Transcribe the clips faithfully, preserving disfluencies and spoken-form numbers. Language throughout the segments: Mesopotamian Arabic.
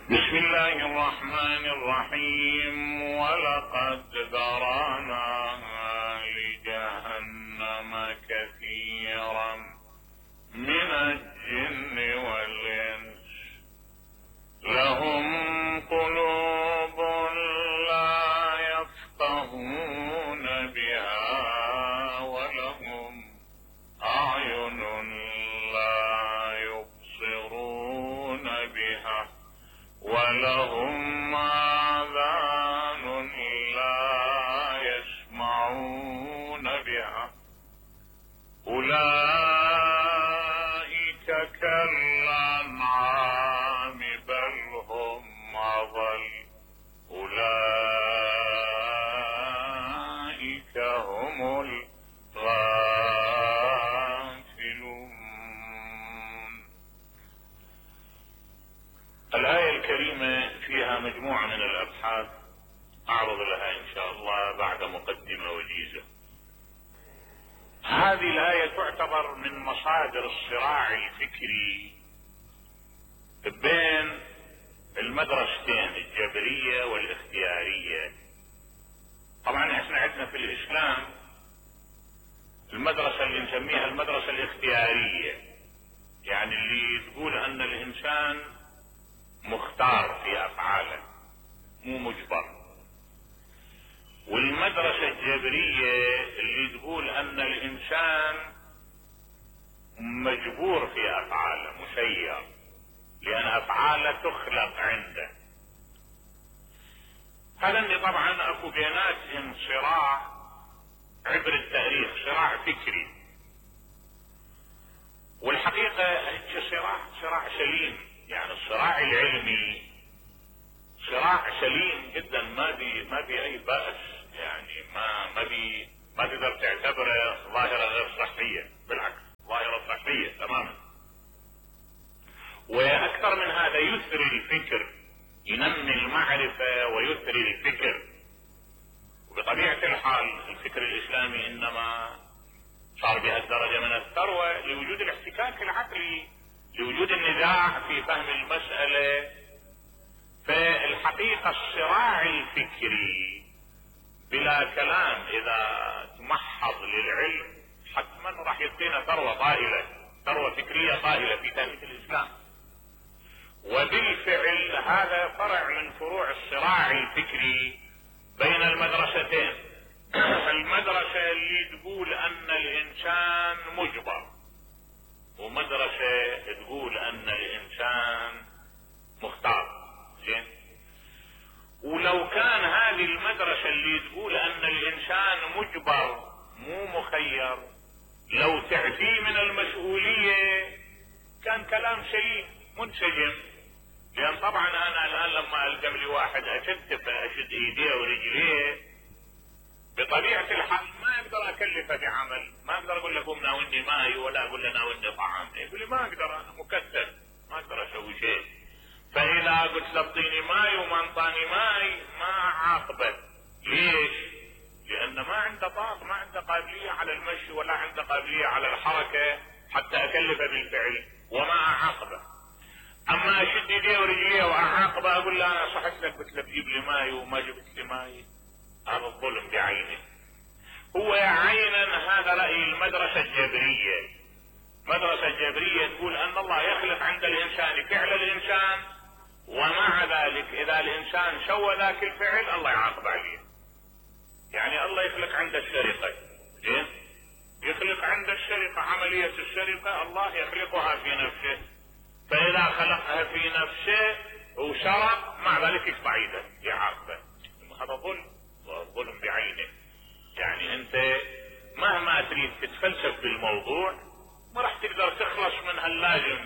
بسم الله الرحمن الرحيم. ولقد ذرأنا لجهنم كثيرا من الجن والإنس لهم قلوب لا يفقهون بها ولهم أعين لا يبصرون بها ولهم آذان لا يسمعون بها أولئك كالأنعام بل هم أضل أولئك هم الغافلون. الآية الكريمة فيها مجموعة من الأبحاث أعرض لها إن شاء الله بعد مقدمة وجيزة. هذه الآية تعتبر من مصادر الصراع الفكري بين المدرستين الجبرية والاختيارية. طبعا احنا عندنا في الإسلام المدرسة اللي نسميها المدرسة الاختيارية، يعني اللي تقول أن الإنسان مختار في أفعاله مو مجبر، والمدرسة الجبرية اللي تقول أن الإنسان مجبور في أفعاله مسير، لأن أفعاله تخلق عنده. هذا اللي طبعا أكو بيناتهم صراع عبر التاريخ، صراع فكري، والحقيقة هيك صراع صراع سليم، يعني الصراع العلمي صراع سليم جدا، ما بي ما بي أي بأس، يعني ما ما بي ما تقدر تعتبره ظاهرة غير صحية، بالعكس ظاهرة صحية تماما. واكثر من هذا يثري الفكر، ينمي المعرفة ويثري الفكر. وبطبيعة الحال الفكر الاسلامي انما صار بهالدرجة من الثروة لوجود الاحتكاك العقلي، لوجود النزاع في فهم المسألة. فالحقيقة الصراع الفكري بلا كلام اذا تمحض للعلم حتما راح يعطينا ثروة طائلة، ثروة فكرية طائلة في تاريخ الاسلام. وبالفعل هذا فرع من فروع الصراع الفكري بين المدرستين. المدرسة اللي تقول ان الانسان مجبر، ومدرسة تقول ان الانسان مختار. زين، ولو كان هذه المدرسة اللي تقول ان الانسان مجبر مو مخير لو تعفيه من المسؤولية كان كلام سليم منسجم. لان طبعا انا الان لما الزم لي واحد اشد اشد ايديه ورجليه بطبيعة الحال ما اقدر اكلفه بعمل، ما اقدر اقول له قوم ناولني ماي ولا اقول له ناولني طعام، يقول لي ما اقدر انا مكتف ما اقدر اسوي شيء. فاذا قلت له اعطيني ماي وما انطاني ماي ما اعاقبه. ليش؟ لان ما عنده طاقة، ما عنده قابلية على المشي ولا عنده قابلية على الحركة حتى اكلفه بالفعل وما اعاقبه. اما اشد ايديه ورجليه واعاقبه اقول له انا صحت لك قلت لك جيب لي ماي وما جبت لي ماي، هذا الظلم بعينه. هو عينا هذا رأي المدرسة الجبرية. المدرسة الجبرية تقول ان الله يخلق عند الانسان فعل الانسان، ومع ذلك اذا الانسان سوى ذاك الفعل الله يعاقب عليه. يعني الله يخلق عند السرقة، زين، يخلق عند السرقة عملية السرقة الله يخلقها في نفسه، فاذا خلقها في نفسه وسرق مع ذلك يقطع يده يعاقبه. هذا ظلم، ظلم بعينه. يعني انت مهما تريد تتفلسف بالموضوع ما راح تقدر تخلص من هاللازم،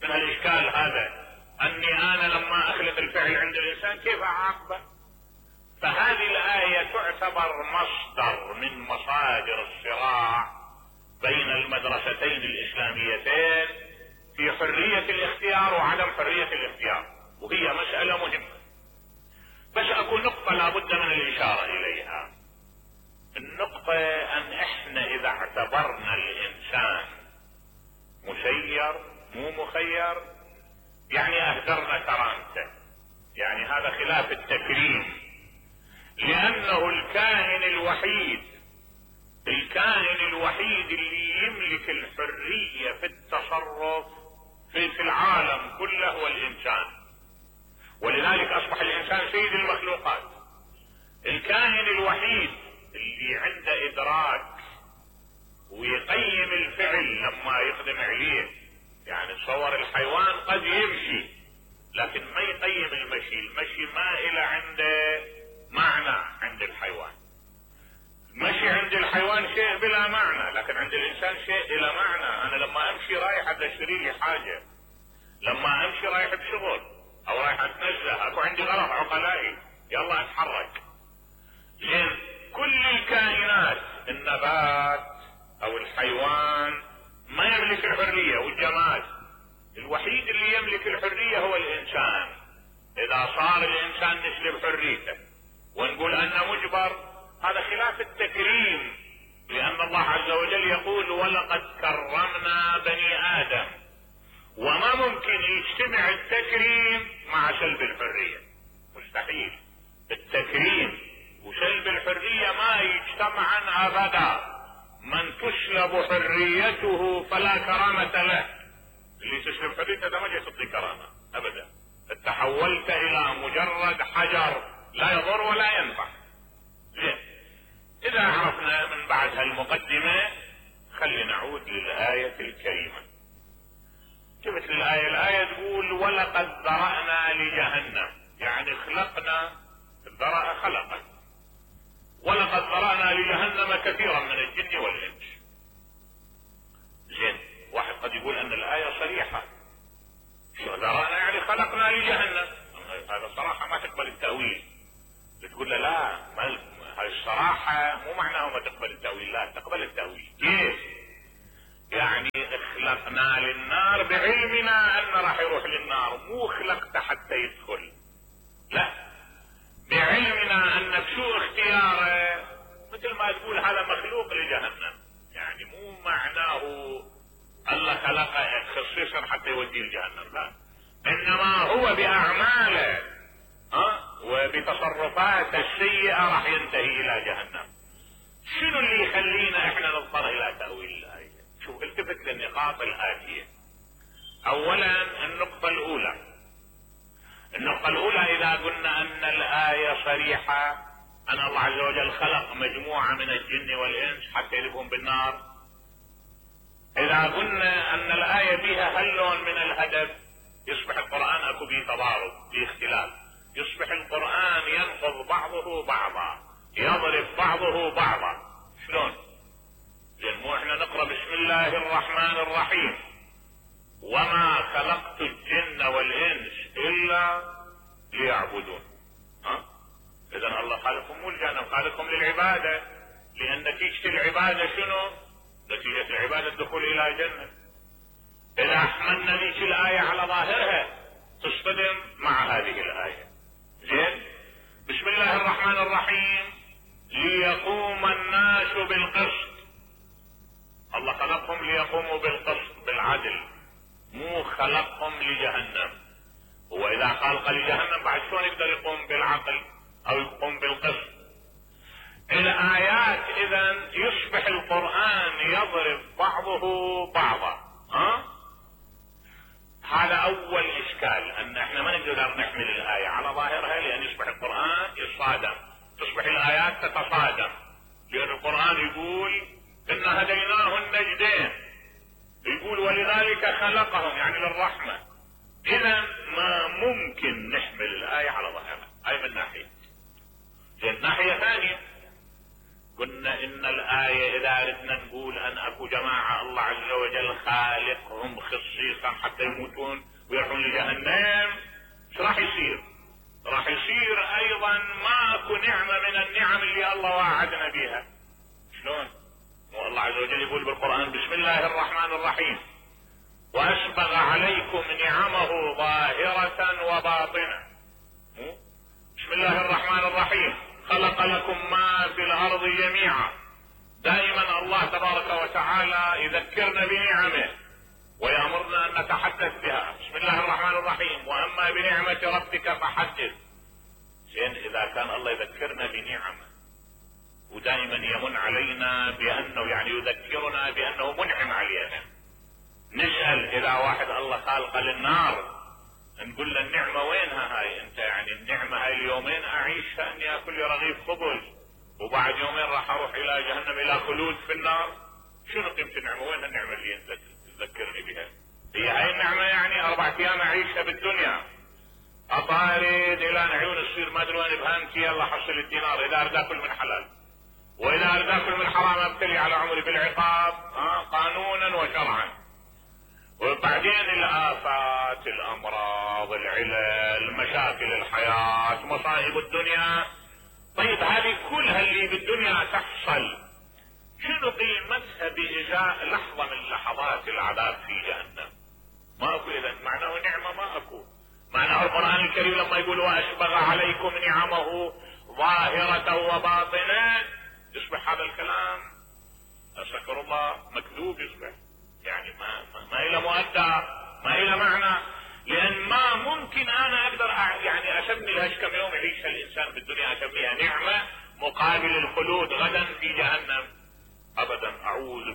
من هالاشكال هذا، اني انا لما اخلق الفعل عند الانسان كيف اعاقبه. فهذه الآية تعتبر مصدر من مصادر الصراع بين المدرستين الاسلاميتين في حرية الاختيار وعدم حرية الاختيار، وهي مسألة مهمة. بس اكو نقطة لابد من الاشارة اليها. النقطة ان احنا اذا اعتبرنا الانسان مسير مو مخير يعني اهدرنا كرامته. هذا خلاف التكريم، لانه الكائن الوحيد الكائن الوحيد اللي يملك الحرية في التصرف في, في العالم كله هو الانسان، ولذلك اصبح الانسان سيد المخلوقات. الكائن الوحيد اللي عنده ادراك ويقيم الفعل لما يقدم عليه، يعني تصور الحيوان قد يمشي لكن ما يقيم المشي، المشي ما إلى عنده معنى عند الحيوان. المشي عند الحيوان شيء بلا معنى، لكن عند الانسان شيء الى معنى. انا لما امشي رايح اشتري لي حاجة، لما امشي رايح بشغل او رايح اتنزه، اكو عندي غلط عقلائي، يلا اتحرك. زين، كل الكائنات النبات او الحيوان ما يملك الحرية، والجماد الوحيد اللي يملك الحرية هو الانسان. اذا صار الانسان نسلب حريته ونقول انه مجبر، هذا خلاف التكريم، لان الله عز وجل يقول ولقد كرمنا بني ادم، وما ممكن يجتمع التكريم مع سلب الحرية، مستحيل. التكريم وسلب الحرية ما يجتمعان ابدا. من تسلب حريته فلا كرامة له. اللي تسلب حريته ده ما جاي تعطي كرامة ابدا، تحولت الى مجرد حجر لا يضر ولا ينفع. زين، اذا عرفنا من بعد هالمقدمة خلي نعود للآية الكريمة. جبت الآية الآية تقول ولقد ذرأنا لجهنم، يعني خلقنا، الذرأ خلقا، ولقد ذرأنا لجهنم كثيرا من الجن والإنس. زين، واحد قد يقول ان الآية صريحة، شو ذرأنا يعني خلقنا لجهنم، هذا صراحة ما تقبل التأويل. تقول له لا، ما هاي الصراحة مو معناه ما تقبل التأويل، لا تقبل التأويل. كيف؟ يعني خلقنا للنار بعلمنا انه راح يروح للنار، مو خلقته حتى يدخل، لا، بعلمنا ان بسوء اختياره، مثل ما تقول هذا مخلوق لجهنم، يعني مو معناه الله خلقه خصيصا حتى يوديه لجهنم، لا، انما هو باعماله ها وبتصرفاته السيئة راح ينتهي الى جهنم. شنو اللي يخلينا احنا نضطر الى تأويل الآية؟ شوف، التفت للنقاط الآتية. اولا النقطة الاولى، النقطة الاولى اذا قلنا ان الآية صريحة ان الله عز وجل خلق مجموعة من الجن والانس حتى يذهبون بالنار، اذا قلنا ان الآية فيها هاللون من الهدف، يصبح القرآن اكو به تضارب، به اختلاف، يصبح القرآن ينقض بعضه بعضا، يضرب بعضه بعضا. شلون؟ لان مو احنا نقرأ بسم الله الرحمن الرحيم وما خلقت الجن والانس الا ليعبدون، ها؟ اذا الله خالقهم مو الجنة، خالقهم للعبادة، لان نتيجة العبادة شنو؟ نتيجة العبادة الدخول الى جنة. اذا احملنا ذيك الآية على ظاهرها تصطدم مع هذه الآية. زين، بسم الله الرحمن الرحيم ليقوم الناس بالقسط، الله خلقهم ليقوموا بالقسط بالعدل، مو خلقهم لجهنم. هو اذا خلق لجهنم بعد شلون يقدر يقوم بالعقل او يقوم بالقسط؟ الآيات اذا يصبح القرآن يضرب بعضه بعضا، ها؟ هذا اول اشكال، ان احنا ما نقدر نحمل الآية على ظاهرها، لان يصبح القرآن يتصادم، تصبح الآيات تتصادم، لان القرآن يقول ان هديناه النجدين، يقول ولذلك خلقهم يعني للرحمة. اذا ما ممكن نحمل الآية على ظاهرها، هاي من ناحية. من ناحية ثانية قلنا ان الآية اذا ردنا نقول ان اكو جماعة الله عز وجل خالقهم خصيصا حتى يموتون ويروحون لجهنم، ايش راح يصير؟ راح يصير ايضا ما اكو نعمة من النعم اللي الله وعدنا بها. شلون؟ والله عز وجل يقول بالقرآن بسم الله الرحمن الرحيم واسبغ عليكم نعمه ظاهرة وباطنة. بسم الله الرحمن الرحيم خلق لكم ما في الارض جميعا. دائما الله تبارك وتعالى يذكرنا بنعمه ويأمرنا ان نتحدث بها. بسم الله الرحمن الرحيم واما بنعمة ربك فحدث. زين اذا كان الله يذكرنا بنعمه ودائما يمن علينا بانه يعني يذكرنا بانه منعم علينا، نسأل اذا واحد الله خالقه للنار نقول له النعمة وينها هاي؟ انت يعني النعمة هاي اليومين اعيشها اني اكل لي رغيف خبز وبعد يومين راح اروح الى جهنم الى خلود في النار. شنو قيمة النعمة؟ وين النعمة اللي انت تذكرني بها؟ هي هاي النعمة يعني اربع ايام اعيشها بالدنيا اطارد الى عيون تصير ما ادري وين بهمتي يلا حصل الدينار اذا اريد اكل من حلال، واذا اريد اكل من حرام ابتلي على عمري بالعقاب ها قانونا وشرعا. وبعدين الآفات، الأمراض، العلل، مشاكل الحياة، مصائب الدنيا. طيب هذه كلها اللي بالدنيا تحصل شنو قيمتها بإجاء لحظة من لحظات العذاب في جهنم؟ ما اكو. اذا معناه نعمة ما اكو. معناه القرآن الكريم لما يقول وأسبغ عليكم نعمه ظاهرة وباطنة يصبح هذا الكلام أستغفر الله مكذوب، يصبح يعني ما ما, ما إلى مؤدى، ما إلى معنى. لأن ما ممكن أنا أقدر يعني أسمي لهاش كم يوم يعيشها الإنسان بالدنيا أسميها نعمة مقابل الخلود غدا في جهنم. أبدا، أعوذ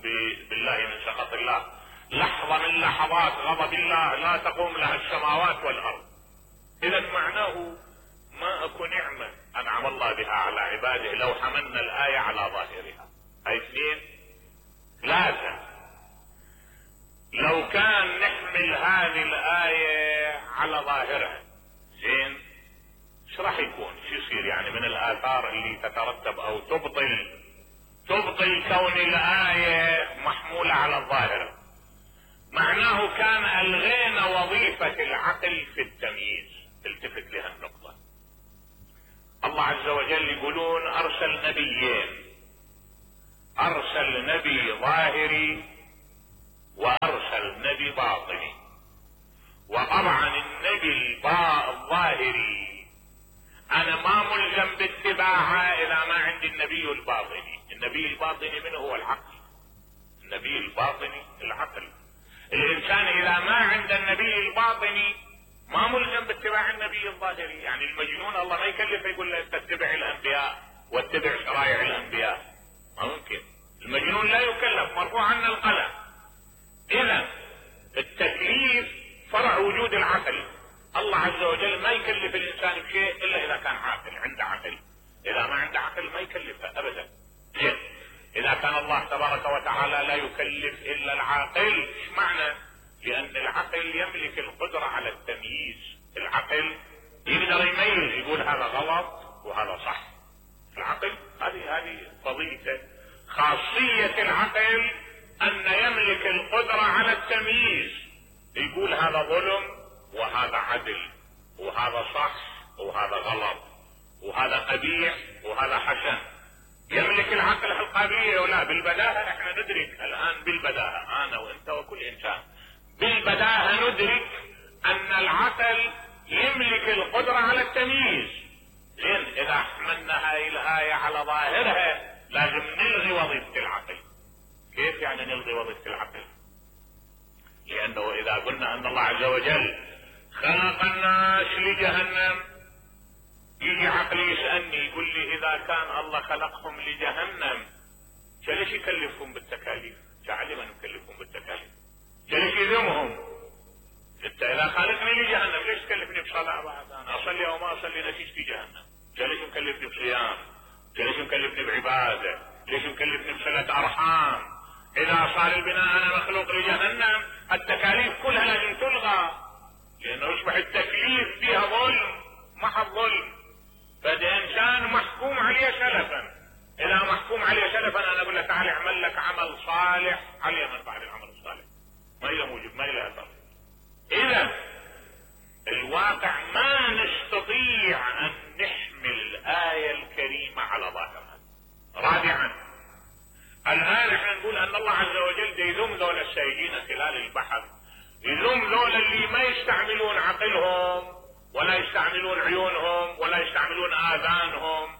بالله من سخط الله. لحظة من لحظات غضب الله لا تقوم لها السماوات والأرض. إذا معناه ما أكو نعمة أنعم الله بها على عباده لو حملنا الآية على ظاهرها. هاي اثنين. ثلاثة، لو كان نحمل هذه الآية على ظاهرها زين ايش راح يكون؟ شو يصير يعني من الآثار اللي تترتب أو تبطل تبطل كون الآية محمولة على الظاهر؟ معناه كان ألغينا وظيفة العقل في التمييز. التفت لها النقطة. الله عز وجل يقولون أرسل نبيين، أرسل نبي ظاهري وأرسل نبي باطني. وطبعا النبي الظاهري أنا ما ملزم باتباعه إذا ما عندي النبي الباطني. النبي الباطني من هو؟ العقل. النبي الباطني العقل. الإنسان إذا ما عند النبي الباطني ما ملزم باتباع النبي الظاهري. يعني المجنون الله ما يكلف يقول له تتبع الأنبياء واتبع شرائع الأنبياء، ما ممكن. المجنون لا يكلف، مرفوع عنه القلم. إذا التكليف فرع وجود العقل. الله عز وجل ما يكلف الإنسان بشيء إلا إذا كان عاقل، عنده عقل. إذا ما عنده عقل ما يكلفه أبدا. إذا كان الله تبارك وتعالى لا يكلف إلا العاقل، إيش معنى؟ لأن العقل يملك القدرة على التمييز. العقل يقدر يميز، يقول هذا غلط وهذا صح. العقل هذه هذه فضيلته، خاصية العقل أن يملك القدرة على التمييز. يقول هذا ظلم وهذا عدل، وهذا صح وهذا غلط، وهذا قبيح وهذا حسن. يملك العقل القابلية ولا بالبداهة. احنا ندرك الآن بالبداهة، أنا وأنت وكل إنسان بالبداهة ندرك أن العقل يملك القدرة على التمييز. لأن إذا حملنا هاي الآية على ظاهرها لازم نلغي وظيفة العقل. كيف يعني نلغي وظيفة العقل؟ لأنه إذا قلنا أن الله عز وجل خلق الناس لجهنم، يجي عقلي يسألني يقول لي إذا كان الله خلقهم لجهنم ليش يكلفهم بالتكاليف؟ جعل من يكلفهم بالتكاليف؟ ليش يذمهم؟ انت إذا خلقني لجهنم ليش تكلفني بصلاة بعد؟ أنا أصلي أو ما أصلي نتيجتي جهنم. ليش مكلفني بصيام؟ ليش مكلفني بعبادة؟ ليش مكلفني بصلة أرحام؟ إذا صار البناء أنا مخلوق لجهنم التكاليف كلها لازم تلغى، لأنه يصبح التكليف فيها ظلم محض ظلم. فده إنسان محكوم عليه سلفا. إذا محكوم عليه سلفا أنا أقول له تعال اعمل لك عمل صالح عليه من بعد العمل الصالح، ما إلى موجب ما إلى أثر. إذا الواقع ما نستطيع أن نحمل الآية الكريمة على ظاهرها. رابعا، الآن احنا نقول أن الله عز وجل يذم ذول السائلين خلال البحر، يذم ذول اللي ما يستعملون عقلهم ولا يستعملون عيونهم ولا يستعملون آذانهم.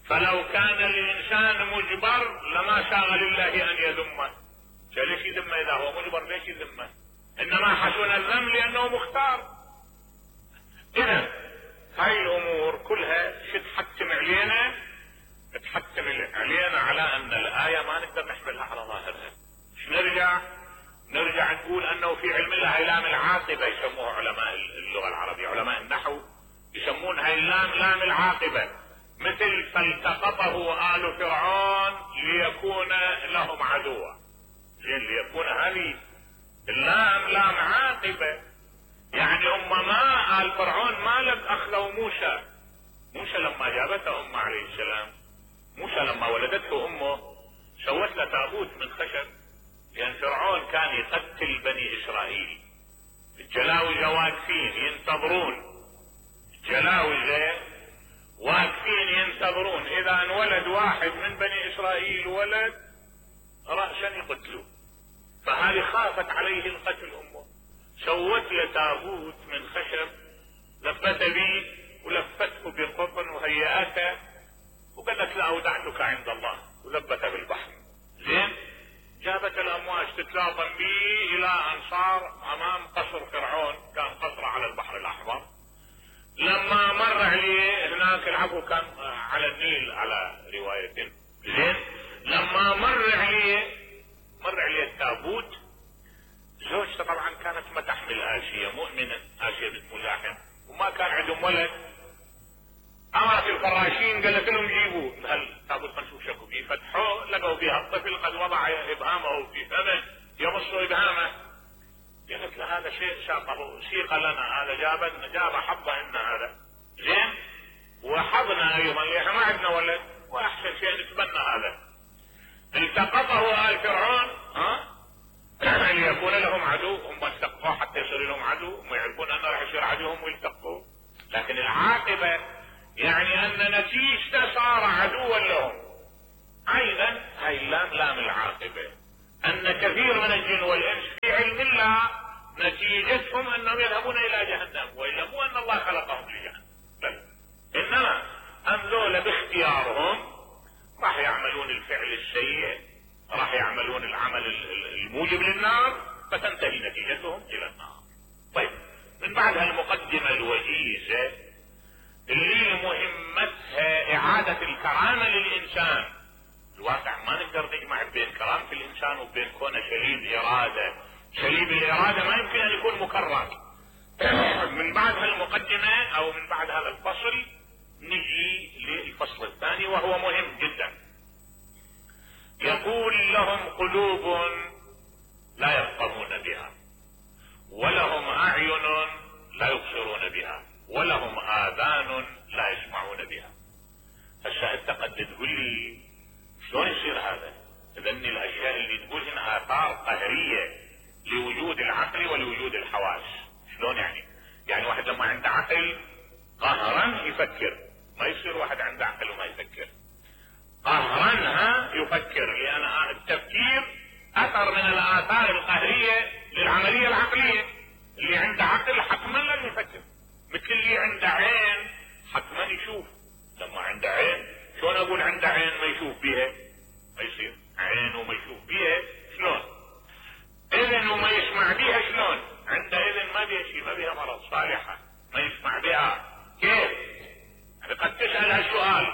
فلو كان الإنسان مجبر لما ساغ لله أن يذمه. ليش يذمه إذا هو مجبر؟ ليش يذمه؟ إنما حسن الذم لأنه مختار. إذا هاي الأمور كلها العاقبة يسموها علماء اللغة العربية، علماء النحو يسمون هاي اللام لام العاقبة، مثل فالتقطه آل فرعون ليكون لهم عدوا، زين ليكون هذه اللام لام عاقبة، يعني هم ما آل فرعون ما لك اخذوا موسى، موسى لما جابته امه عليه السلام، موسى لما ولدته امه سوت له تابوت من خشب، لان فرعون كان يقتل بني اسرائيل، الجلاوزة واقفين ينتظرون، الجلاوزة واقفين ينتظرون اذا انولد واحد من بني اسرائيل ولد رأسا يقتلوه، فهذه خافت عليه القتل امه، سوت له تابوت من خشب لفت به ولفته بقطن وهيئته وقالت له اودعتك عند الله ولبته بالبحر، زين جابت الامواج تتلاطم به الى ان صار امام قصر فرعون، كان قصره على البحر الاحمر، لما مر عليه هناك العفو كان على النيل على رواية، زين لما مر عليه مر عليه التابوت، زوجته طبعا كانت ما تحمل آسية، مؤمنة آسية بنت مزاحم، وما كان عندهم ولد، امرت الفراشين قالت لهم جيبوا هالتابوت خلينا شكوا فيه، فتحوه لقوا فيها الطفل قد وضع ابهامه في فمه يمص ابهامه، قالت له هذا شيء ساقه سيق لنا، هذا جاب جاب حظه ان هذا زين وحظنا ايضا لان ما عندنا ولد واحسن شيء نتبنى هذا، التقطه آل فرعون ها ليكون لهم عدو، هم التقوه حتى يصير لهم عدو، هم يعرفون انه راح يصير عدوهم ويلتقوه، لكن العاقبه يعني ان نتيجته صار عدوا لهم، ايضا هاي اللام لام العاقبه، ان كثير من الجن والانس في علم الله نتيجتهم انهم يذهبون الى جهنم، والا مو ان الله خلقهم لجهنم، بل انما ام ذولا باختيارهم راح يعملون الفعل السيء، راح يعملون العمل الموجب للنار، فتنتهي نتيجتهم الى النار. طيب من بعد هالمقدمة الوجيزة اللي مهمتها اعادة الكرامة للانسان، الواقع ما نقدر نجمع بين كرامة الانسان وبين كونه شليب ارادة، شليب الارادة ما يمكن ان يكون مكرم. من بعد هالمقدمة او من بعد هذا الفصل نجي للفصل الثاني وهو مهم جدا، يقول لهم قلوب لا يفقهون بها، ولهم اعين لا يبصرون بها، ولهم اذان لا يسمعون بها. هسه انت قد تقول لي شلون يصير هذا؟ اذا الاشياء اللي تقول هنا اثار قهريه لوجود العقل ولوجود الحواس، شلون يعني؟ يعني واحد لما عنده عقل قهرا يفكر، ما يصير واحد عنده عقل وما يفكر، قهرا ها يفكر، لان التفكير اثر من الاثار القهريه للعمليه العقليه، اللي عنده عقل حتما لن يفكر، مثل اللي عنده عين حتما يشوف، لما عنده عين شلون اقول عنده عين ما يشوف بيها؟ ما يصير، عين وما يشوف بيها شلون؟ اذن وما يسمع بيها شلون؟ عنده اذن ما بيها شيء، ما بيها مرض، صالحه ما يسمع بها، كيف؟ يعني قد تسال هالسؤال،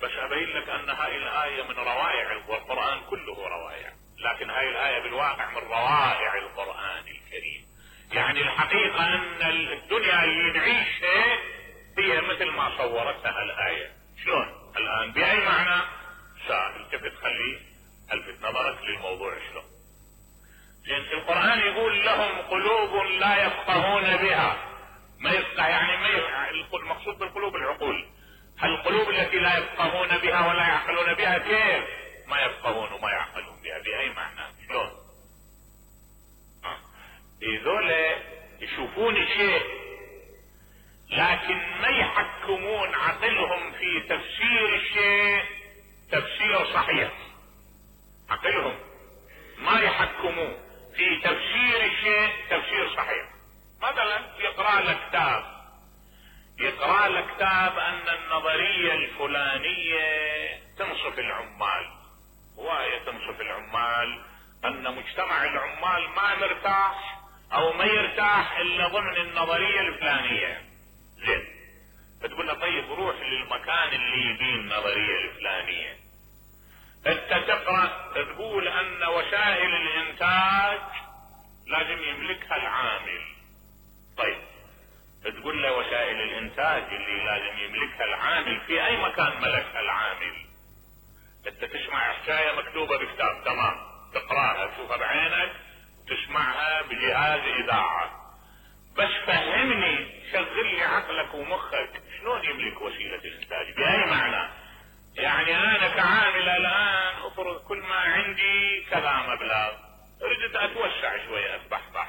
بس ابين لك ان هاي الايه من روائع القران، كله روائع، لكن هاي الايه بالواقع من روائع القران الكريم، يعني الحقيقه ان الدنيا اللي نعيشها هي مثل ما صورتها الايه، شلون؟ الان باي معنى؟ التفت خلي الفت نظرك للموضوع شلون. زين القران يقول لهم قلوب لا يفقهون بها، ما يفقه يعني ما يفقه، المقصود بالقلوب العقول، القلوب التي لا يفقهون بها ولا يعقلون بها، كيف ما يفقهون وما يعقلون بها؟ باي معنى؟ شلون؟ هذول يشوفون شيء لكن ما يحكمون عقلهم في تفسير الشيء تفسير صحيح، عقلهم ما يحكمون في تفسير الشيء تفسير صحيح. مثلا يقرأ لك كتاب، يقرأ لك كتاب ان النظرية الفلانية تنصف العمال، وهي تنصف العمال ان مجتمع العمال ما مرتاح او ما يرتاح الا ضمن النظرية الفلانية، زين فتقول له طيب روح للمكان اللي يبين النظرية الفلانية، انت تقرأ تقول ان وسائل الانتاج لازم يملكها العامل، طيب تقول له وسائل الانتاج اللي لازم يملكها العامل، في اي مكان ملكها العامل؟ انت تسمع حكاية مكتوبة بكتاب، تمام، تقراها تشوفها بعينك وتسمعها بجهاز اذاعة، بس فهمني، شغل لي عقلك ومخك، شلون يملك وسيلة الانتاج؟ بأي معنى؟ يعني انا كعامل الان افرض كل ما عندي كذا مبلغ، ردت اتوسع شوية اتبحبح،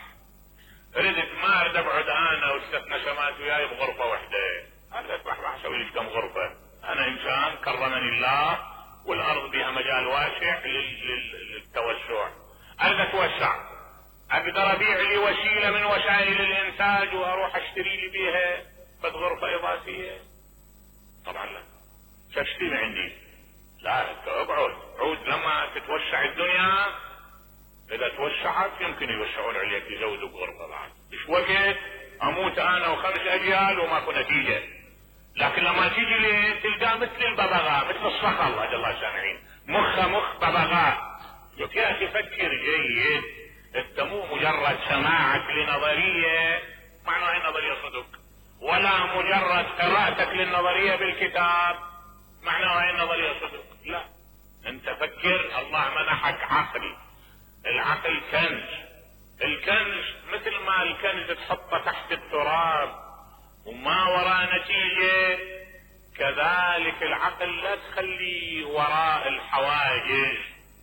ردت ما اريد ابعد انا والست نسمات وياي بغرفة واحدة، هذا اتبحبح اسوي لي كم غرفة، انا انسان كرمني الله والارض بها مجال واسع للتوسع، اريد اتوسع، اقدر ابيع لي وسيلة من وسائل الانتاج واروح اشتري لي بيها بس غرفة اضافية؟ طبعا لا، تشتري عندي، لا اقعد عود لما تتوسع الدنيا، اذا توسعت يمكن يوسعون عليك يزودوا بغرفة بعد، مش وقت اموت انا وخمس اجيال وماكو نتيجة، لكن لما تيجي لي تلقاه مثل الببغاء، مثل الصخل، اجل الله سامعين، مخه مخ ببغاء. لك يا اخي فكر جيد، انت مو مجرد سماعك لنظرية معناها النظرية صدق، ولا مجرد قراءتك للنظرية بالكتاب معناها النظرية صدق، لا، انت فكر، الله منحك عقل، العقل كنز، الكنز مثل ما الكنز تحطه تحت التراب وما وراء نتيجة، كذلك العقل لا تخلي وراء الحواجز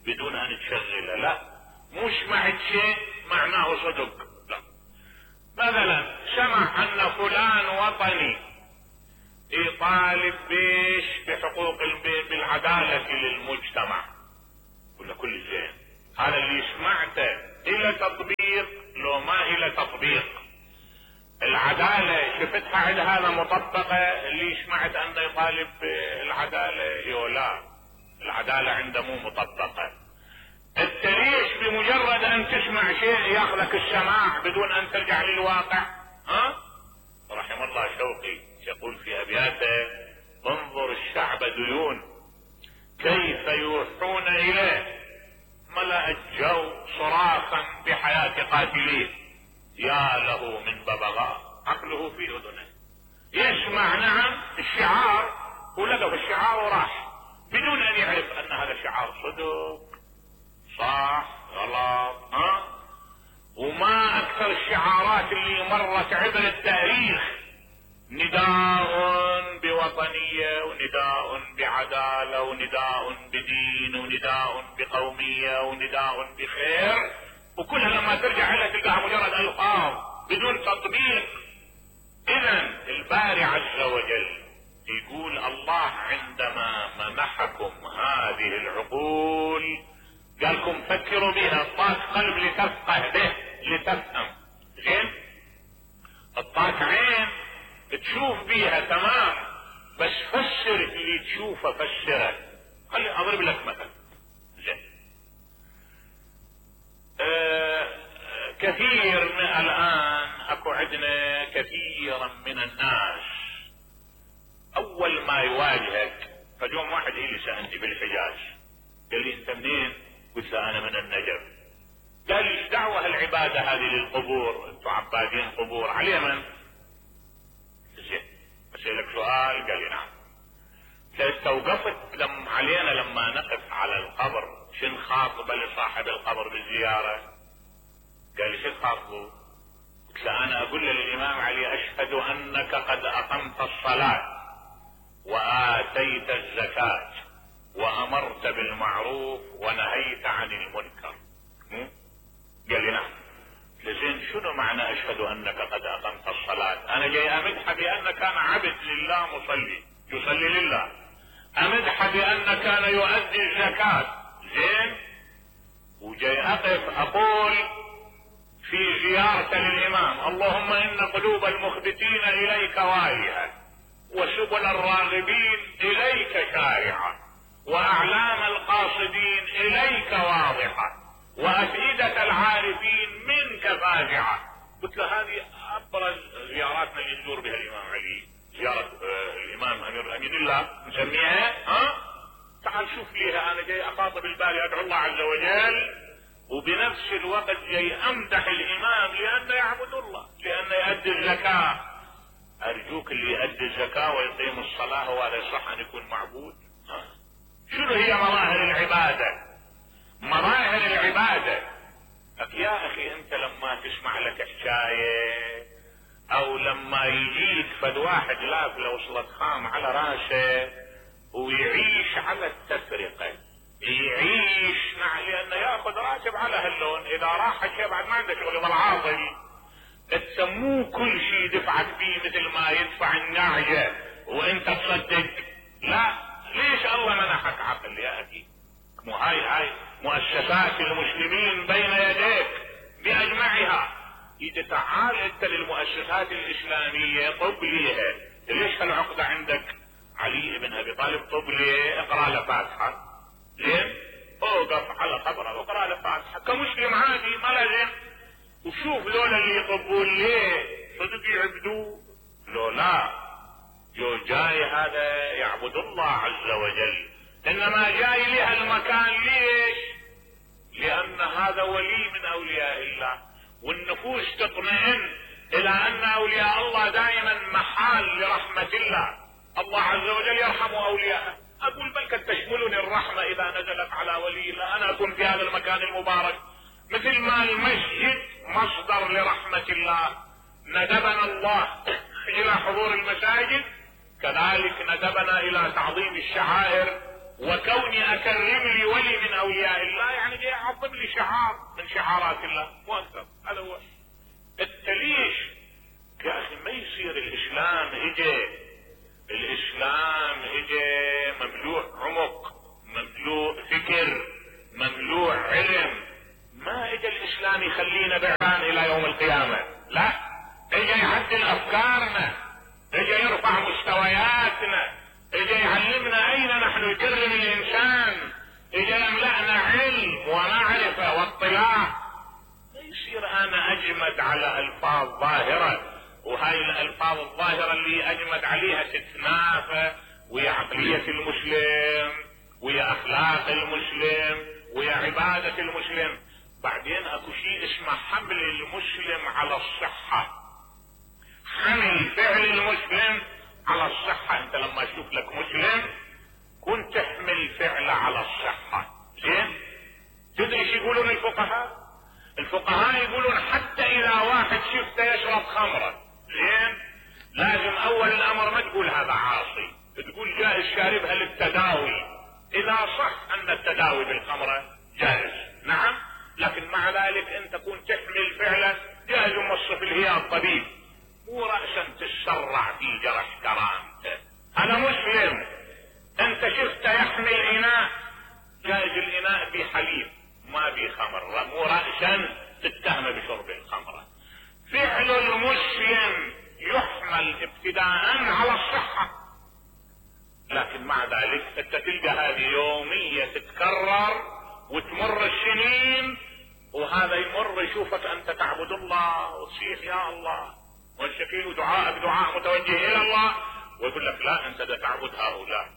بدون ان تشغله، لا، مش سمعت شيء معناه صدق، لا. مثلا سمع ان فلان وطني يطالب بيش بحقوق بالعدالة للمجتمع، ولا كل زين، هذا اللي سمعته الى تطبيق لو ما الى تطبيق؟ العدالة شفتها عند هذا مطبقة؟ اللي سمعت انه يطالب بالعدالة يولا، العدالة عنده مو مطبقة. انت ليش بمجرد ان تسمع شيء ياخذك السماع بدون ان ترجع للواقع؟ ها؟ رحم الله شوقي يقول في ابياته: انظر الشعب ديون كيف يوحون اليه، ملأ الجو صراخا بحياة قاتليه، يا له من ببغاء عقله في اذنه، يسمع نعم الشعار ولقى في الشعار وراح بدون ان يعرف ان هذا شعار صدق صح غلط، ها؟ وما اكثر الشعارات اللي مرت عبر التاريخ، نداء بوطنية ونداء بعدالة ونداء بدين ونداء بقومية ونداء بخير، وكلها لما ترجع لها تلقاها مجرد الفاظ بدون تطبيق. اذا الباري عز وجل يقول: الله عندما منحكم هذه العقول قالكم فكروا بها، اعطاك قلب لتفقه به لتفهم، زين؟ اعطاك عين تشوف بيها، تمام، بس فسر اللي تشوفه، فسره. خلي اضرب لك مثل، زين؟ آه كثير من الان اكو عندنا كثيرا من الناس اول ما يواجهك، فجوم واحد الي سألني بالحجاز قال لي: انت منين؟ قلت له: انا من النجف. قال لي: ايش دعوه العباده هذه للقبور؟ انتم عبادين قبور على اليمن. زين، اسالك سؤال. قال لي: نعم. استوقفت لما علينا لما نقف على القبر شن خاطبه لصاحب القبر بالزياره؟ قال لي: شن خاطبه؟ قلت له: انا اقول للامام علي: اشهد انك قد اقمت الصلاه واتيت الزكاه وامرت بالمعروف ونهيت عن المنكر. قال لي: نعم. لزين شنو معنى اشهد انك قد اقمت الصلاة؟ انا جاي امدح بان كان عبد لله مصلي يصلي لله، امدح بان كان يؤدي الزكاة، زين؟ وجاي اقف اقول في زيارة للامام: اللهم ان قلوب المخبتين اليك واهية وسبل الراغبين اليك شارعة واعلام القاصدين اليك واضحة وافئدة العارفين منك فاجعة. قلت له: هذه ابرز زياراتنا اللي نزور بها الامام علي، زيارة آه الامام امير امين الله نسميها، ها؟ تعال شوف ليها، انا جاي اخاطب الباري ادعو الله عز وجل وبنفس الوقت جاي امدح الامام لانه يعبد الله، لانه يؤدي الزكاة. ارجوك اللي يؤدي الزكاة ويقيم الصلاة هو هذا يصح ان يكون معبود؟ شنو هي مظاهر العبادة؟ مظاهر العبادة يا اخي انت لما تسمع لك حكاية او لما يجيك فد واحد لاف لو وصلت خام على راسه ويعيش على التفرقة، يعيش مع لانه ياخذ راتب على هاللون، اذا راح شيء بعد ما عنده شغل بالعاطل تسموه كل شيء دفعك فيه مثل ما يدفع النعجة وانت تصدق. لا، ليش الله منحك عقل يا اخي؟ مو هاي هاي مؤسسات المسلمين بين يديك باجمعها. اذا تعال انت للمؤسسات الاسلامية طب ليها، ليش هالعقدة عندك؟ علي بن ابي طالب طب ليه؟ اقرا له فاتحة. زين؟ اوقف على قبره واقرا له فاتحة كمسلم عادي ما لازم. وشوف لولا اللي يطبون ليه صدق يعبدوه؟ لو لا جو جاي هذا يعبد الله عز وجل، انما جاي لها المكان ليش؟ لان هذا ولي من اولياء الله، والنفوس تطمئن الى ان اولياء الله دائما محال لرحمة الله. الله عز وجل يرحم اولياءه. اقول بل قد تشملني الرحمة اذا نزلت على ولي الله، انا اكون في هذا المكان المبارك. مثل ما المسجد مصدر لرحمة الله ندبنا الله الى حضور المساجد، كذلك ندبنا الى تعظيم الشعائر وكوني اكرم لي ولي من اولياء الله، يعني جاي اعظم لي شعار من شعارات الله مو اكثر. هذا هو التليش يا اخي. ما يصير الاسلام اجى الاسلام اجى مملوء عمق، مملوء فكر، مملوء علم. ما اجى الاسلام يخلينا بعان الى يوم القيامة، لا، اجى يعدل افكارنا، اجى يرفع مستوياتنا، اجى يعلمنا اين نحن يكرم الانسان، اجى يملأنا علم ومعرفة واطلاع. ما يصير انا اجمد على الفاظ ظاهرة، وهاي الالفاظ الظاهرة اللي اجمد عليها تتنافى ويا عقلية المسلم ويا اخلاق المسلم ويا عبادة المسلم. بعدين اكو شيء اسمه حمل المسلم على الصحة، حمل فعل المسلم على الصحة. انت لما اشوف لك مسلم كنت تحمل فعله على الصحة. زين؟ تدري ايش يقولون الفقهاء؟ الفقهاء يقولون حتى اذا واحد شفته يشرب خمرة، زين؟ لازم اول الامر ما تقول هذا عاصي، تقول جائز شاربها للتداوي، اذا صح ان التداوي بالخمرة جائز، نعم، لكن مع ذلك انت كنت تحمل فعله جائز موصف الهيئة الطبيب، مو رأسا تسرع في جرح كرامته. انا مسلم، انت شفته يحمل اناء، جائز الاناء بحليب ما بخمر، مو رأسا تتهم بشرب الخمرة. فعل المسلم يحمل ابتداء على الصحة، لكن مع ذلك انت تلقى هذه يومية تتكرر وتمر السنين، وهذا يمر يشوفك انت تعبد الله وتصيح يا الله والشكيل دعاءك دعاء متوجه الى الله، ويقول لك لا انت دا تعبد هؤلاء،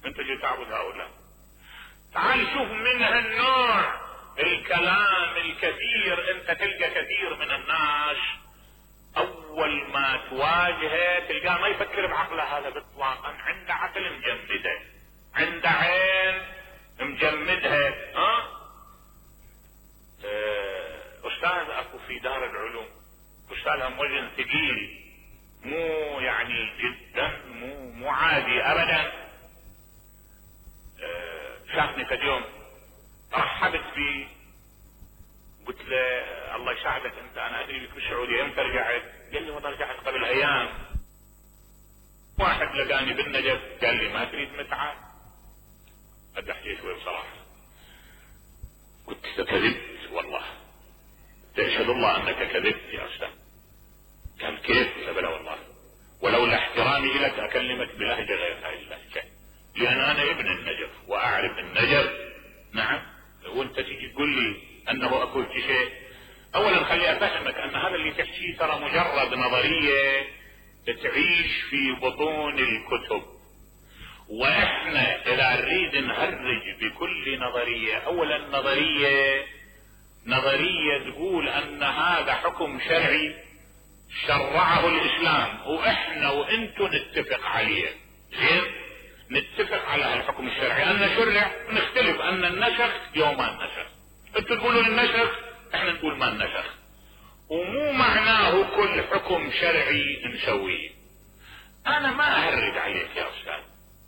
انت جاي تعبد هؤلاء. تعال شوف من هالنوع الكلام الكثير. انت تلقى كثير من الناس اول ما تواجهه تلقاه ما يفكر بعقله هذا باطلاقا، عنده عقل مجمده، عنده عين مجمدها. ها اه استاذ اكو في دار العلوم استاذهم وزن ثقيل، مو يعني جدا مو مو عادي ابدا. اه شافني فد يوم رحبت بي، قلت له الله يساعدك انت، انا ادري لك بالسعوديه امتى رجعت؟ قال لي والله رجعت قبل ايام. واحد لقاني بالنجف قال لي ما تريد متعه؟ قد احكي شوي بصراحه، قلت كذبت والله، تشهد الله انك كذبت يا استاذ. قال كيف؟ قلت بلا والله، ولولا احترامي لك اكلمك بلهجه غير هاي اللهجه، لان انا ابن النجف واعرف النجف. نعم، وانت تيجي تقول لي انه اكو شيء، اولا خلي افهمك ان هذا اللي تحكيه ترى مجرد نظريه تعيش في بطون الكتب، واحنا اذا نريد نهرج بكل نظريه، اولا نظريه نظريه تقول ان هذا حكم شرعي شرعه الاسلام واحنا وانتم نتفق عليه، زين؟ نتفق على الحكم الشرعي ان شرع، نختلف ان النسخ يوم ما النسخ، انتم تقولون النسخ احنا نقول ما النسخ، ومو معناه كل حكم شرعي نسويه. انا ما اهرج عليك يا استاذ،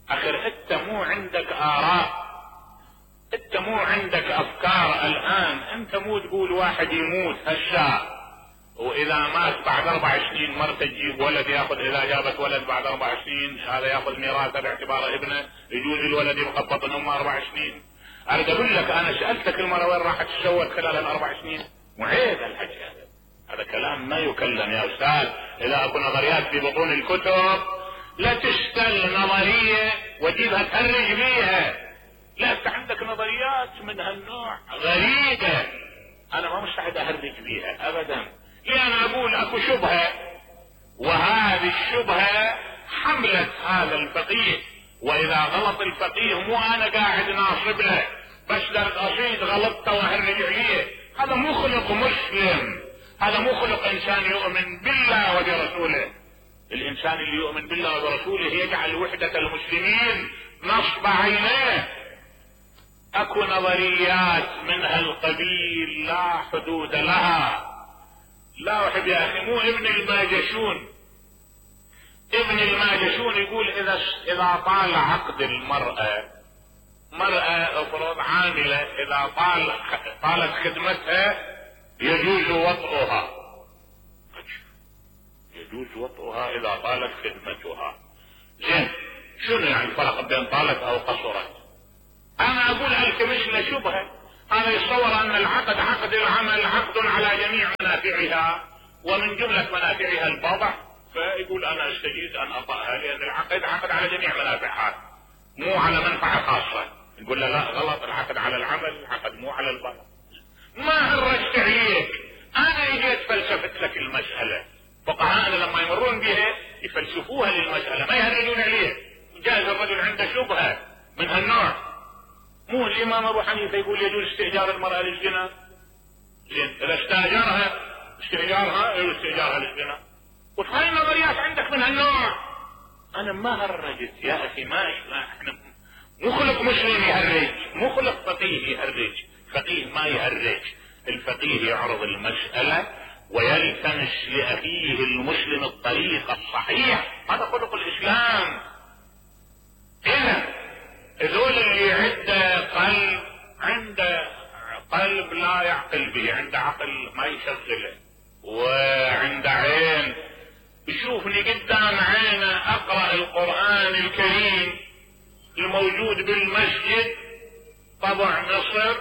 اخر انت مو عندك اراء، انت مو عندك افكار الان، انت مو تقول واحد يموت هالشاء واذا مات بعد اربع سنين مرته تجيب ولد ياخذ، اذا جابت ولد بعد اربع سنين هذا ياخذ ميراثه باعتباره ابنه، يجوز الولد يبقى ببطن امه اربع سنين. اريد اقول لك انا سالتك المره وين راحت تسوت خلال الاربع سنين؟ وعيب الحكي هذا، هذا كلام ما يكلم يا استاذ. اذا اكو نظريات في بطون الكتب لا تشتل نظريه وجيبها تهرج بيها، لا انت عندك نظريات من هالنوع غريبه، انا ما مستعد اهرج بيها ابدا. لان اقول اكو شبهه، وهذه الشبهه حملت هذا الفقيه، واذا غلط الفقيه مو انا قاعد ناصب له بس قصيد غلطته واهرج عليه، هذا مو خلق مسلم، هذا مو خلق انسان يؤمن بالله وبرسوله. الانسان اللي يؤمن بالله وبرسوله يجعل وحدة المسلمين نصب عينيه. اكو نظريات من هالقبيل لا حدود لها. لا احب يا اخي، مو ابن الماجشون، ابن الماجشون يقول اذا اذا طال عقد المرأة، مرأة افرض عاملة، اذا طال طالت خدمتها يجوز وطئها، يجوز وطئها اذا طالت خدمتها. زين، شنو يعني الفرق بين طالت او قصرت؟ انا اقول التمس له شبهه، انا يتصور ان العقد عقد العمل عقد على جميع منافعها، ومن جملة منافعها البضع، فيقول انا استجيز ان اطأها لان العقد عقد على جميع منافعها مو على منفعة خاصة. نقول له لا غلط، العقد على العمل، العقد مو على البضع. ما هرجت عليك، انا اجيت فلسفت لك المسألة. فقهاءنا لما يمرون بها يفلسفوها للمسألة، ما يهرجون عليه. جاز الرجل عنده شبهة من هالنوع، مو الامام ابو حنيفه يقول يجوز استئجار المرأة للزنا. زين، اذا استاجرها استئجارها يجوز استئجارها للزنا. وهاي النظريات عندك من هالنوع. انا ما هرجت يا اخي، ما احنا مو خلق مسلم يهرج، مو خلق فقيه يهرج، فقيه ما يهرج. الفقيه يعرض المسألة ويلتمس لاخيه المسلم الطريق الصحيح، هذا خلق الاسلام. اذا ذول اللي عنده قلب، عنده قلب لا يعقل به، عنده عقل ما يشغله، وعنده عين يشوفني قدام عينه اقرأ القرآن الكريم الموجود بالمسجد طبع مصر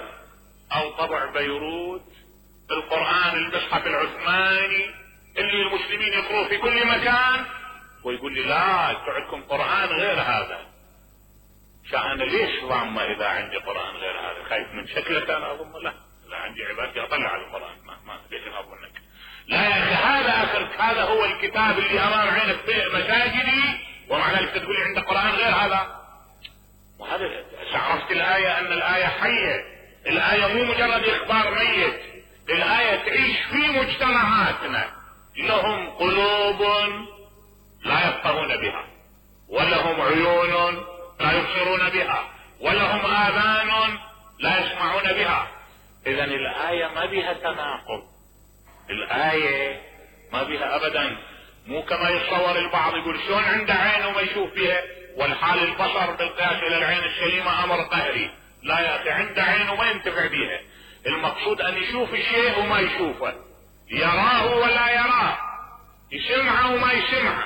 او طبع بيروت، القرآن المصحف العثماني اللي المسلمين يقروه في كل مكان، ويقول لي لا انتوا عندكم قرآن غير هذا. فانا ليش ضامة اذا عندي قرآن غير هذا؟ خايف من شكلك انا اظن؟ لا، لا عندي عبادتي اطلع على القرآن، ما ما ليش اظنك؟ لا يا اخي، هذا اخر، هذا هو الكتاب اللي امام عينك في مساجدي، ومع ذلك تقول لي عندك قرآن غير هذا. وهذا عرفت الآية ان الآية حية، الآية مو مجرد اخبار ميت، الآية تعيش في مجتمعاتنا. لهم قلوب لا يفقهون بها، ولهم عيون لا يبصرون بها، ولهم آذان لا يسمعون بها. اذا الآية ما بها تناقض، الآية ما بها ابدا. مو كما يتصور البعض يقول شلون عنده عين وما يشوف بها، والحال البصر بالقياس الى العين السليمة امر قهري. لا يا اخي، عنده عين وما ينتفع بها. المقصود ان يشوف الشيء وما يشوفه، يراه ولا يراه، يسمعه وما يسمعه،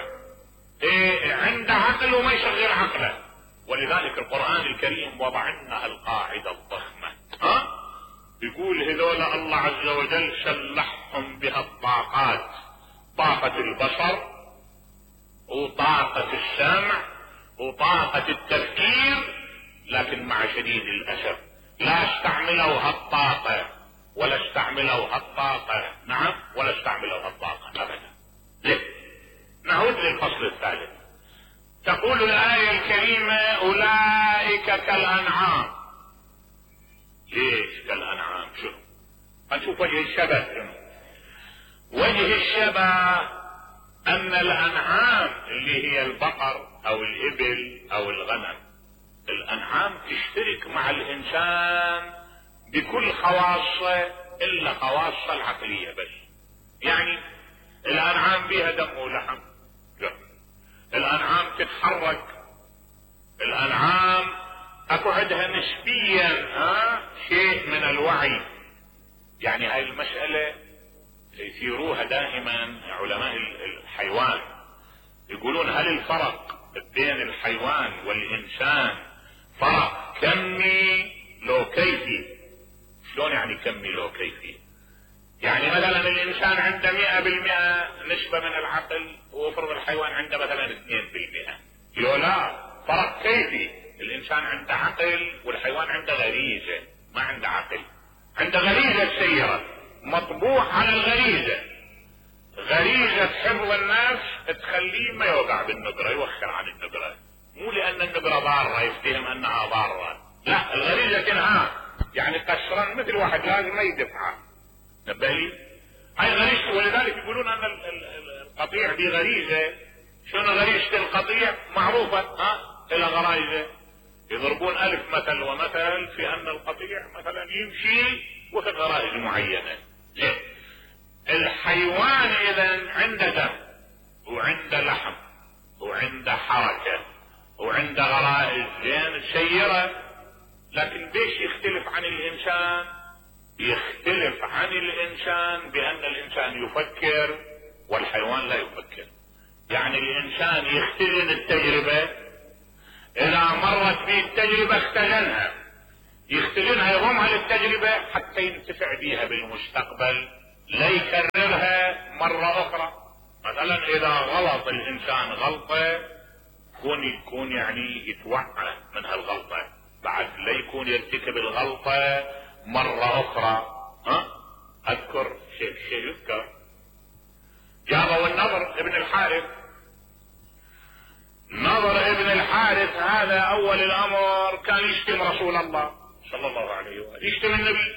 إيه عنده عقل وما يشغل عقله. ولذلك القرآن الكريم وضع لنا القاعدة الضخمة، ها؟ يقول هذول الله عز وجل سلحهم بها الطاقات، طاقة البصر وطاقة السمع وطاقة التفكير، لكن مع شديد الأسف لا استعملوا هالطاقة ولا استعملوا هالطاقة، نعم، ولا استعملوا هالطاقة أبدا. ليه؟ نعود للفصل الثالث. تقول الآية الكريمة أولئك كالأنعام. ليش كالأنعام؟ شنو؟ هنشوف وجه الشبه. شنو وجه الشبه؟ ان الانعام اللي هي البقر او الابل او الغنم، الانعام تشترك مع الانسان بكل خواصه الا خواصه العقليه بس. يعني الانعام بها دم ولحم، لا. الانعام تتحرك، الانعام اكو عندها نسبيا ها شيء من الوعي. يعني هاي المسألة يثيروها دائما علماء الحيوان، يقولون هل الفرق بين الحيوان والانسان فرق كمي لو كيفي؟ شلون يعني كمي لو كيفي؟ يعني مثلا الانسان عنده مئة بالمئة نسبة من العقل، وفرض الحيوان عنده مثلا اثنين بالمئة. يقول لا، فرق كيفي. الانسان عنده عقل والحيوان عنده غريزة، ما عنده عقل. عنده غريزة السيرة، مطبوع على الغريزة. غريزة حفظ النفس تخليه ما يوقع بالنقرة، يوخر عن النقرة، مو لان النقرة ضارة يفتهم انها ضارة، لا، الغريزة تنهاه. يعني قسرا مثل واحد لازم ما يدفعه، نبالي هاي غريزته. ولذلك يقولون ان القطيع دي غريزة. شنو غريزة القطيع؟ معروفة، ها الى غرائزه. يضربون الف مثل ومثل في ان القطيع مثلا يمشي وفي غرائز معينة. ليه؟ الحيوان اذا عنده دم وعنده لحم وعنده حركة وعنده غرائز زين سيرة، لكن ليش يختلف عن الانسان؟ يختلف عن الانسان بان الانسان يفكر والحيوان لا يفكر. يعني الانسان يختزن التجربة، اذا مرت به التجربة اختزنها، يختزنها يضمها للتجربة حتى ينتفع بها بالمستقبل، لا يكررها مرة اخرى. مثلا اذا غلط الانسان غلطة يكون يكون يعني يتوعى من هالغلطة، بعد لا يكون يرتكب الغلطة مرة اخرى. ها اذكر شيء شيء يذكر، جابوا النضر ابن الحارث. نضر ابن الحارث هذا اول الامر كان يشتم رسول الله صلى الله عليه وآله، يشتم النبي،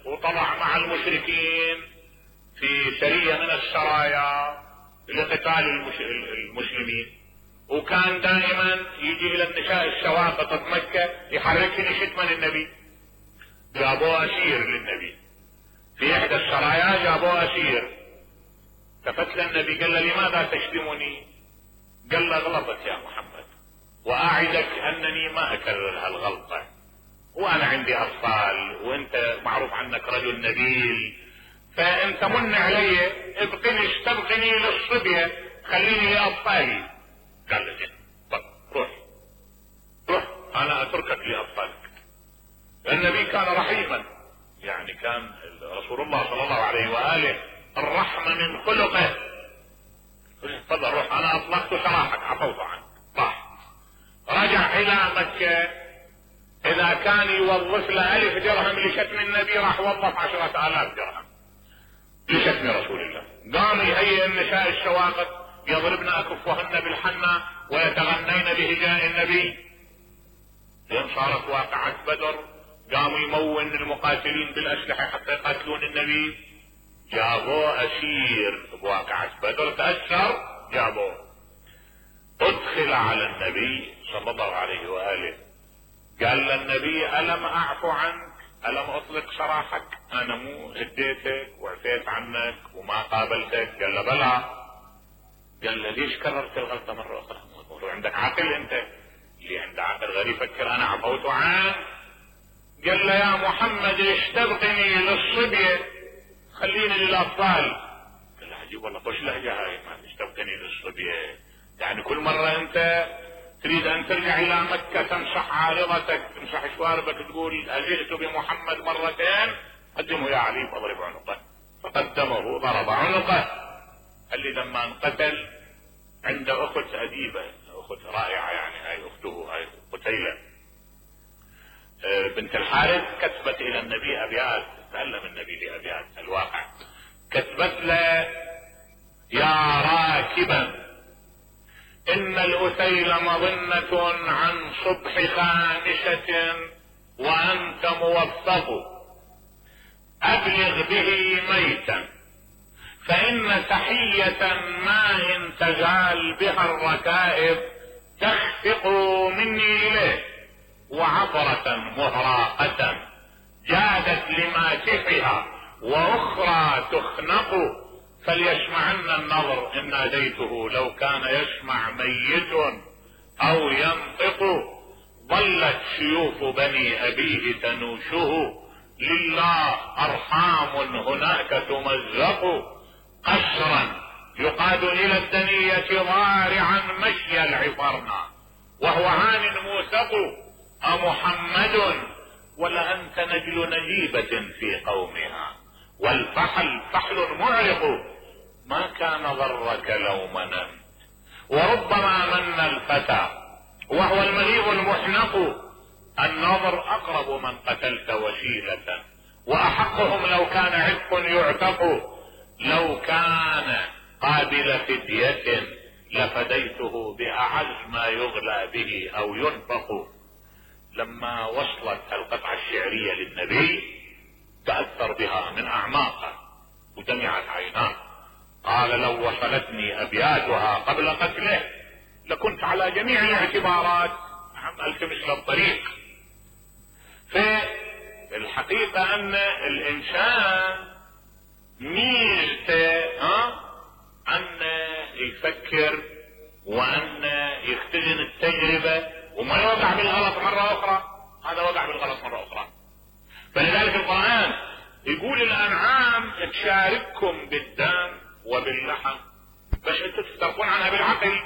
وطلع مع المشركين في سرية من السرايا لقتال المسلمين، وكان دائما يجي الى النساء السواقط بمكة يحركن شتما النبي. جابوه اسير للنبي في احدى السرايا، جابوه اسير. ففتل النبي قال له لماذا تشتمني؟ قال له غلطت يا محمد، واعدك انني ما اكرر هالغلطة، وانا عندي اطفال وانت معروف عنك رجل نبيل، فانت من علي ابقني استبقني للصبية، خليني لاطفالي. قال له زين، روح روح انا اتركك لاطفالك. النبي كان رحيما، يعني كان رسول الله صلى الله عليه واله الرحمة من خلقه. تفضل روح انا اطلقت سراحك، عفوت عنك. راح رجع الى مكة، اذا كان يوظف له الف درهم لشتم النبي راح وظف عشرة الاف درهم لشتم رسول الله. قام يهيئ النساء السواقط يضربن اكفهن بالحنة ويتغنين بهجاء النبي. لين صارت واقعة بدر قاموا يمون المقاتلين بالاسلحة حتى يقاتلون النبي. جابوه اسير بواقعة بدر، تأثر جابوه. ادخل على النبي صلى الله عليه وآله، قال للنبي ألم اعفو عنك؟ ألم اطلق سراحك؟ انا مو هديتك وعفيت عنك وما قابلتك؟ قال له بلى. قال له ليش كررت الغلطة مرة اخرى؟ عندك عقل انت؟ اللي عنده عقل غير يفكر انا عفوت عنك. قال له يا محمد اشتبقني للصبية، خليني للاطفال. قال له عجيب والله، طش لهجة هاي، ما اشتبقني للصبية. يعني كل مرة انت تريد ان ترجع الى مكة تمسح عارضتك، تمسح شواربك، تقول اجئت بمحمد مرتين، قدمه يا علي فاضرب عنقه. فقدمه ضرب عنقه. اللي لما انقتل عند اخت اديبة، اخت رائعة يعني، هاي اخته هاي قتيلة بنت الحارث، كتبت الى النبي ابيات، تعلم النبي لابيات الواقع. كتبت له يا راكبا ان الاثيل مظنة عن صبح خامسة وانت موفق، ابلغ به ميتا فإن تحية ما إن تزال بها الركائب تخفق مني إليه، وعبرة مهراقة جادت لماسحها وأخرى تخنق، فليسمعن النظر إن ناديته لو كان يسمع ميت أو ينطق. ظلت سيوف بني أبيه تنوشه، لله أرحام هناك تمزق. قسرا يقاد إلى الدنية ضارعا مشي العفرنا، وهو عان موثق. أمحمد ولأنت نجل نجيبة في قومها، والفحل فحل معرق. ما كان ضرك لو مننت، وربما من الفتى وهو المليء المحنق. النظر أقرب من قتلت وسيلة، وأحقهم لو كان عتق يعتق. لو كان قابل فدية لفديته بأعز ما يغلى به أو ينفق. لما وصلت القطعة الشعرية للنبي تأثر بها من أعماقه ودمعت عيناه. قال لو وصلتني أبياتها قبل قتله لكنت على جميع الاعتبارات عملت مثل الطريق. في الحقيقة أن الإنسان ميزته ها أن يفكر وأن يختزن التجربة وما يوقع بالغلط مرة أخرى. هذا وقع بالغلط مرة أخرى. فلذلك القرآن يقول الأنعام تشارككم بالدم وباللحم، بس انتم تفترقون عنها بالعقل.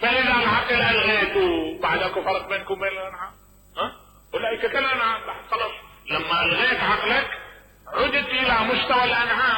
فإذا العقل ألغيته بعدك فرق بينكم وبين الأنعام. ها؟ أولئك كالأنعام. خلاص لما ألغيت عقلك عدت إلى مستوى الأنعام.